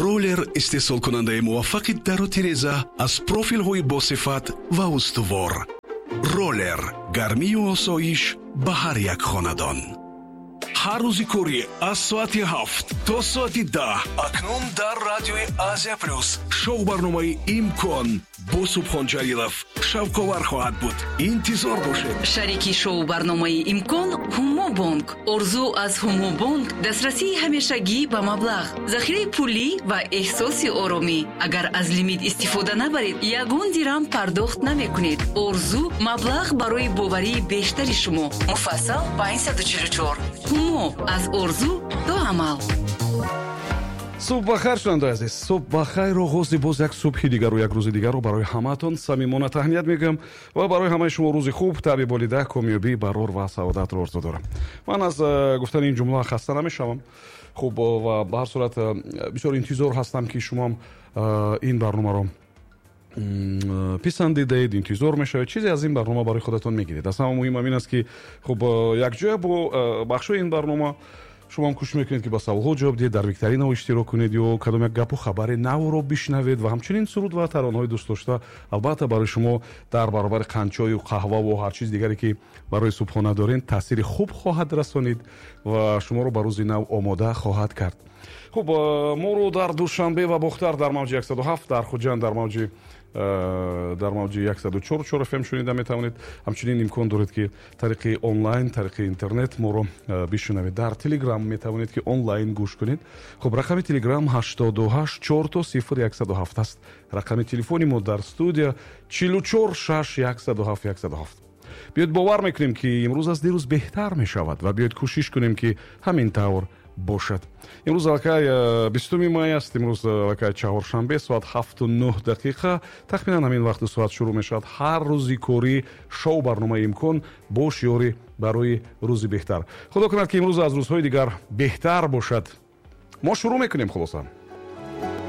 Роллер истеҳсолкунандаи муваффақи дару тиреза аз профилҳои босифат ва устувор. Роллер гармию осоиш ба ҳар як хонадон. Ҳар рӯзи корӣ аз соати 7 то соати 10 акнун дар радиои Азия Плюс шоу барномаи «Имкон» бо Субҳон Ҷалилов шавқовар хоҳад буд. Интизор бошед. Шарики шоу барномаи «Имкон» Ҳумо Бонк. Орзу аз Ҳумо Бонк: дастрасии ҳамешагӣ ба маблағ, захираи пулӣ ва эҳсоси оромӣ. Агар аз лимит истифода набаред, ягон дирам пардохт намекунед. Орзу: маблағ барои боварии бештари шумо. Муфассал 544. Ҳумо: аз орзу то амал. Субҳ бахайр, шунавандаи азиз, субҳ бахайр. Оғози боз як субҳи дигару як рӯзи дигарро барои ҳамаатон самимона таҳният мегӯям ва барои ҳамаи шумо рӯзи хуб, табъи болида, комёбӣ, барор ва саодатро орзу дорам. Ман аз гуфтани ин ҷумла хаста намешавам. Хуб, ва ба ҳар сурат бисёр интизор ҳастам, ки шумоам ин барномаро писандидаед, интизор мешавед, чизе аз ин барнома барои худатон мегиред. Аз ҳама муҳимам ин аст, ки хуб, якҷоя бо бахшҳои ин барнома шумо ҳам кӯшиш мекунед, ки ба саволҳо ҷавоб диҳед, дар викторинаҳо иштирок кунед ё кадом як гапу хабари навро бишнавед ва ҳамчунин суруд ва таронаҳои дӯстдошта албатта барои шумо дар баробари қандчою қаҳваву ҳар чиз дигаре, ки барои субҳона доред, таъсири хуб хоҳад расонид ва шуморо ба рӯзи нав омода хоҳад кард. Хуб, моро дар Душанбе ва Бохтар дар мавҷи 107, дар Хуҷанд дар мавҷи 104,4 фм шунида метавонед. Ҳамчунин имкон доред, ки тариқи онлайн, тариқи интернет моро бишунавед. Дар Телеграм метавонед, ки онлайн гӯш кунед. Хуб, рақами Телеграм 88 000 107 аст. Рақами телефони мо дар студия 44 6 107 107. Биёед, бовар мекунем, ки имрӯз аз дирӯз беҳтар мешавад, ва биёед, кӯшиш кунем, ки ҳамин тавр бошад. Имрӯз аллакай 20-уми май аст. Имрӯз аллакай чаҳоршанбе, соат 7:09. Тахминан ҳамин вақту соат шурӯъ мешавад ҳар рӯзи корӣ шоу барномаи «Имкон» бо шиёри «Барои рӯзи беҳтар». Худо кунад, ки имрӯз аз рӯзҳои дигар беҳтар бошад. Мо шурӯъ мекунем. Хулоса.